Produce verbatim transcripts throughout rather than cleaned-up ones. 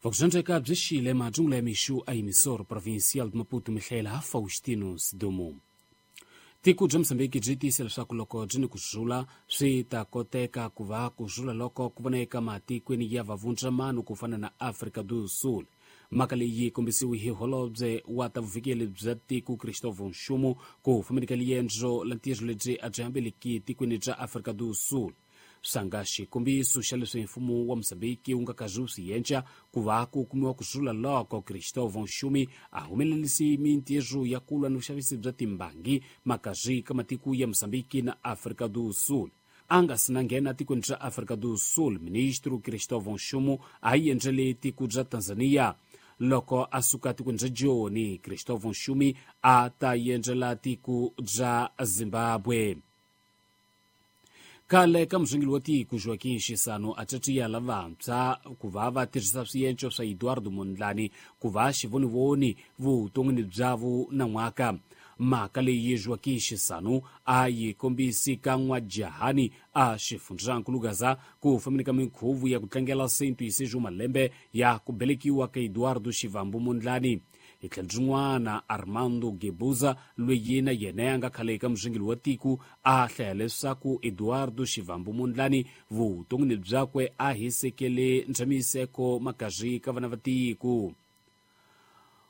Vakuxandzeka byi xile majungula ya mixu a emissor provincial de Maputo mihlayela Faustino Sidumo. Tiko bya Mozambique byi tiyisa leswaku loko byi ni ku rhula swi ta koteka ku va ku rhula loko ku vona eka matikweni ya vavundzamano ku fana na Afrika do Sul. Mhaka leyi yi kombisiwe hi holobye wa ta vuvikeli bya tiko Cristóvão Nxumo ku fambeni ka liendzo la ntirho lebyi a byi hambeleki tikweni bya Afrika do Sul. Sanga xikombiso xa leswi mfumo wa Mozambique wu nga karhi wu swi endla ku va ku kumiwa ku rhula loko Cristóvão Nxumi a humelerisi mintirho ya ku lwa ni vuxavisi bya timbangi makarhi ka matiko ya Mozambique na Afrika do Sul. A nga si na nghena tikweni ra Afrika do Sul, ministro Cristóvão Nxumo a yi endlele tiko bya Tanzania. Loko a suka tikweni ra Joni, Cristóvão Nxumi a ta endlela tiko bya Zimbabwe. Khale ka murhangeri wa tiko Joaquim Chissano a caciya lavantshwa ku va va tirhisa swienco swa Eduardo Mondlane ku va xivonivoni vuton'wini bya vo nan'waka. Mhaka leyi Joaquim Chissano a yi kombisi ka N'wajahani a xifundzankulu Gaza ku fambeni ka minkhuvo ya ku tlangela cento e seis malembe ya ku velekiwa ka Eduardo Shivambu Mondlane. Hi tlhelo rin'wana Armando Guebuza loyi na yena a nga khale ka murhangeri wa tiko a hlaya leswaku Eduardo Shivambu Mondlane vuton'wini byakwe a hisekele ntshamiseko makarhi ka vana va tiko.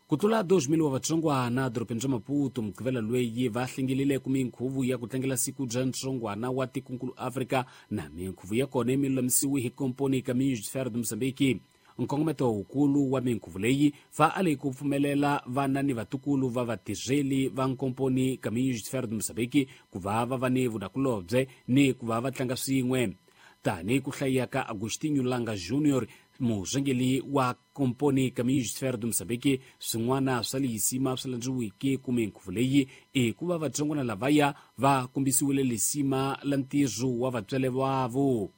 Ku tlula dois mil wa vatsongwana dorobeni ra Maputo Mugqivela loyi va hlengelile ku minkhuvo ya ku tlangela siku bya ntsongwana wa tikonkulu Afrika na minkhuvo ya kona yi lulamisiwe hi komponi Caminhos de Ferro de Moçambique. Nkongometo wukulu wa minkhuvo leyi va ale ku pfumelela vana ni vatukulu va vatirheli va nkomponi Caminhos de Ferro de Moçambique ku va va va ni vunakulobye ni ku va va tlanga swin'we. Tanihi ku hlaya ka Agostinho Langa Junior, murhangeri wa komponi Caminhos de Ferro de Moçambique, swin'wana swa lisima swi landziweke ku minkhuvo leyi i ku va vatsongwana lavaya va kombisiwile lisima la ntirho wa vatswari vavo.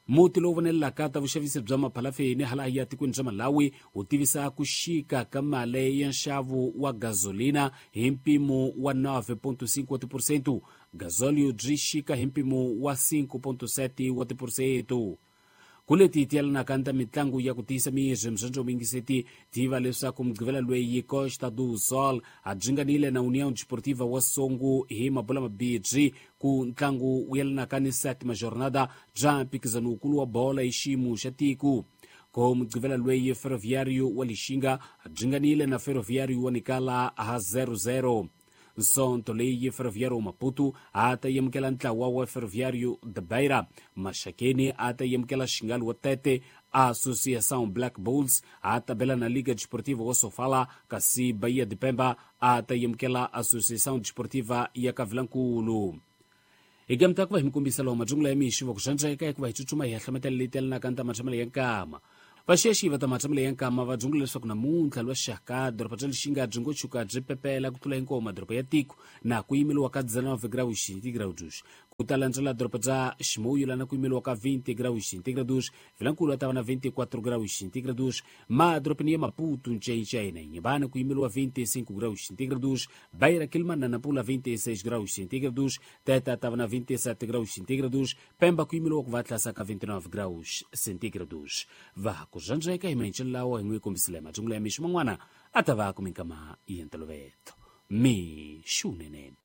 Muti lowu vonelelaka ta vuxavisi bya maphalafeni hala ya tikweni ra Malawi wu tivisa ku xika ka mali ya nxavo wa gasolina hi mpimo wa nove ponto cinco wa tiphesente. Gasolio byi xika hi mpimo wa cinco ponto sete wa tiphesente. Ku leti tiyelanaka ta mitlangu ya ku tiyisa miri mzandzo mingiseti tiva leswaku Mugqivela loyi Costa do Sol a dzinganile na União Desportiva wa Songo hi mabola mabirhi ku ntlangu wu yelanaka ni sétima jornada bya mphikizano wukulu wa bola hi xiyimo xa tiko. Ko Mugqivela loyi Ferroviário wa Lixinga a dzinganile na Ferroviário wa Nikala ha zero zero. Nsonto leyi Ferroviário Maputo a ta yamukela ntlawa wa Ferroviário de Beira. Maxakeni a ta yamukela Xingali wa Tete. Associação Black Bulls a ta bela na Liga Desportiva wa Sofala, kasi Bahia de Pemba a ta yamukela Associação Desportiva ya Kavilankulu. Hi gamta ku va hi mi kombisa lowu majungula ya mixi va ku xandzeka hikuva hi tsutsuma hi hahlometela leyi telanaka ta matshamelo ya nkama. Vaxexi va ta matshamelo ya nkama va dzungula leswaku namuntlha lwa xaka doroba bya Lixinga byi ngo tshuka byi pepela ku tlula hinkwawo madoroba ya tiko na ku yimeliwa ka dezenove graus centígrados. Ku ta landzela doroba bya Chimoio lana ku yimeliwa ka vinte graus centígrados, Vilankulu ta va na vinte e quatro graus centígrados, madorobeni ya Maputo, Ncencei na Inhambane ku yimeliwa vinte e cinco graus centígrados, Beira, Quelimane na Nampula vinte e seis graus centígrados, Tete ta va na vinte e sete graus centígrados, Pemba ku yimeliwa ku va tlasa ka vinte e nove graus centígrados. Va ku xandzeka hi maenxelo lawa hi n'wi kombisile majungula ya mixo man'wana a ta va ku minkama ya ntolovelo. Mixo wunene.